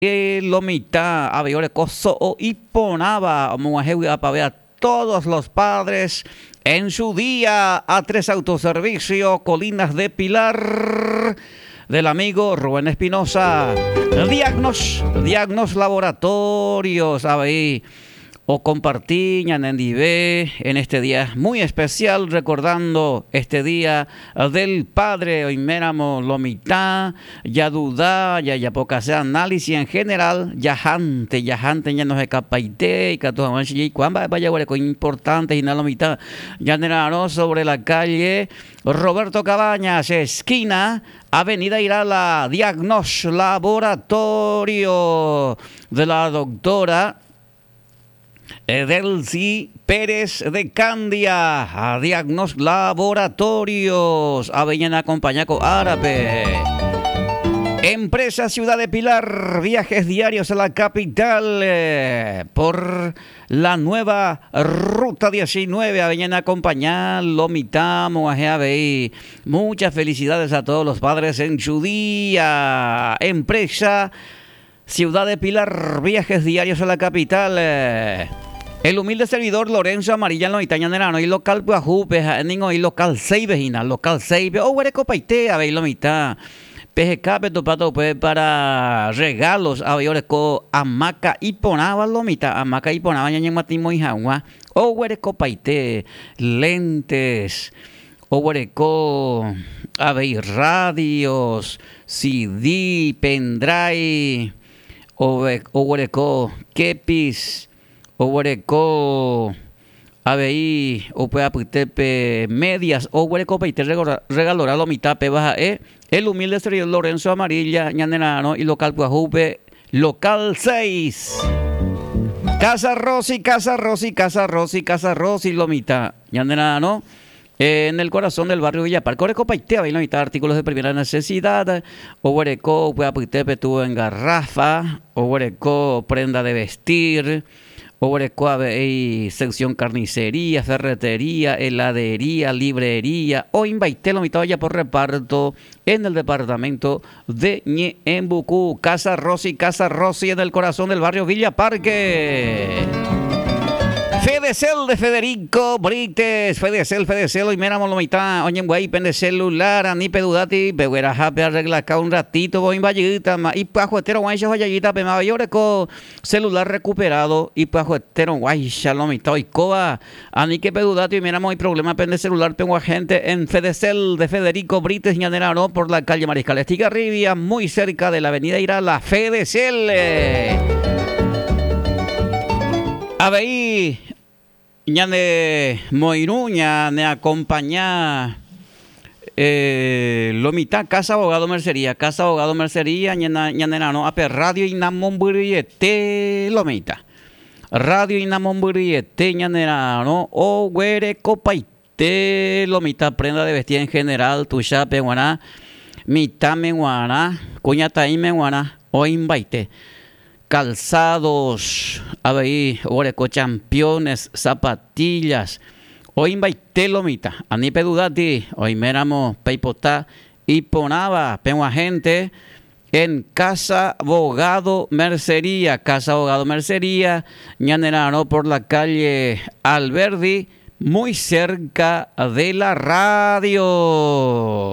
Lo mitã avei oreko so'o iporãva omog̃uahẽ vy'apave a todos los padres en su día a tres autoservicio Colinas de Pilar del amigo Rubén Espinoza. Diagnos, Diagnos Laboratorios avei Okomparti ñanendive en este día muy especial recordando este día del padre oiméramo lo mitã jaduda jajapokase análisis en general jahánte jahánte ñanohekapaite ikatu hag̃uáicha jaikuaa mba'épa jaguereko importante hína lo mitã ñanera'arõ sobre la calle Roberto Cabañas esquina Avenida Irala Diagnos Laboratorio de la doctora Delcy Pérez de Candia, Diagnos Laboratorios, avei ñaneakompaña ko árape. Empresa Ciudad de Pilar, viajes diarios a la capital eh, por la nueva Ruta 19, avei ñaneakompaña lo mitã mog̃uahẽ avei. Muchas felicidades a todos los padres en su día. Empresa Ciudad de Pilar, viajes diarios a la capital. El humilde servidor Lorenzo Amarilla noĩta ñane ra'arõ ilocal pyahúpe, ha'e ningo oĩ local 6-pe hína, local 6-pe oguerekopaite avei lo mitã. Peheka petopáta upe para regalos avei oreko hamaca iporãva lo mitã, hamaca iporãva ñañemyatymoi hag̃ua oguerekopaite lentes, Oguereko avei radios, CD, pendrive, oguereko kepis, oguereko avei upe apytépe medias, oguerekopaite regalorã lo mitã péva ha'e el humilde servidor Lorenzo Amarilla ñanera'arõ ilocal pyahúpe Local 6. Casa Rossi, Casa Rossi, Casa Rossi, Casa Rossi lo mitã ñanera'arõ En el corazón del barrio Villa Parque orekopaite avei oĩta artículos de primera necesidad, oguereko upe apytépe tuvo en garrafa, oguereko prenda de vestir, oguereko avei sección carnicería, ferretería, heladería, librería, oĩmbaite lo mitã ojapo reparto en el departamento de Ñe'ẽmbuku, Casa Rossi, Casa Rossi en el corazón del barrio Villa Parque. Fedecel de Federico Brites, Fedecel, Fedecel, oiméramo lo mitã oñembyai pende celular, ani pedudati, pegueraha pearreglaka un ratito voi mbajýtama, ipyahuetérõguáicha ohajajýta pe máva oreko celular recuperado, ipyahuetérõguáicha lo mitã oikóva Aníke pedudati oiméramo oĩ problema pende celular peguahẽnte en Fedecel de Federico Brites ñanerarõ por la calle Mariscal Estigarribia, muy cerca de la avenida Irala. Fedecel! Avei ñane moirũ ñane acompaña lo mitã Casa Abogado Mercería, Casa Abogado Mercería ñanerarõ ape radio inamombyryete lo mitã. Radio inamombyryete ñanera'arõ oguerekopaite lo mitã prenda de vestir en general tuichápe g̃uarã, mitãme g̃uarã, kuñataĩme g̃uarã oĩmbaite. Calzados, avei oguereko championes, zapatillas, oĩmbaite lo mitã. Ani pedudáti oiméramo peipota iporãva peg̃uahẽnte En Casa Bogado Mercería, Casa Bogado Mercería, ñanera'arõ por la calle Alberdi, muy cerca de la radio.